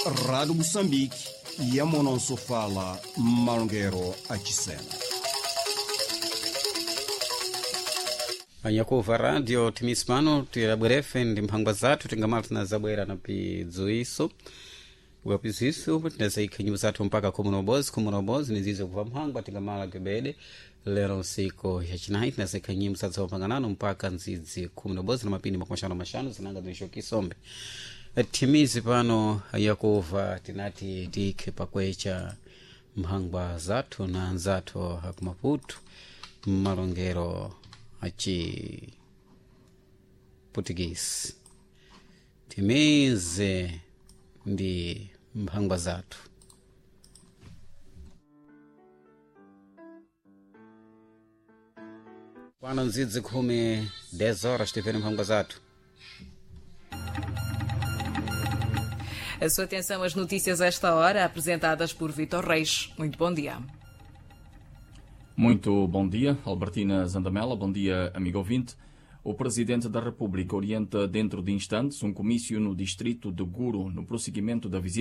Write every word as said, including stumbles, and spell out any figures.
Rádio Moçambique, Yamononso fala Malongero Achisena. Anyakuva radio timisi pano tilabwerefe ndi mphangwa zathu tingamala tinazabwera na pidzuiso wapiziso tinazayikha nyimbo zathu mpaka khumi na ubozi khumi na ubozi nizizo kuva mphangwa tingamala kibede lero nsiku yacinayi tinazayikha nyimbo zathu zakupanganano mpaka nzidzi khumi na ubozi na mapindi makumi axanu na maxanu zinanga zinixokisombe timizi pano yakuva tinati tikhe pakwecha mphangwa zathu na anzathu akumaputu mmalongero aci portuguese timize ndi mphangwa zathu. Pano nzidzi khumi dez horas tivene mphangwa zathu. A sua atenção às notícias a esta hora, apresentadas por Vitor Reis. Muito bom dia. Muito bom dia, Albertina Zandamela. Bom dia, amigo ouvinte. O Presidente da República orienta dentro de instantes um comício no distrito de Guro, no prosseguimento da visita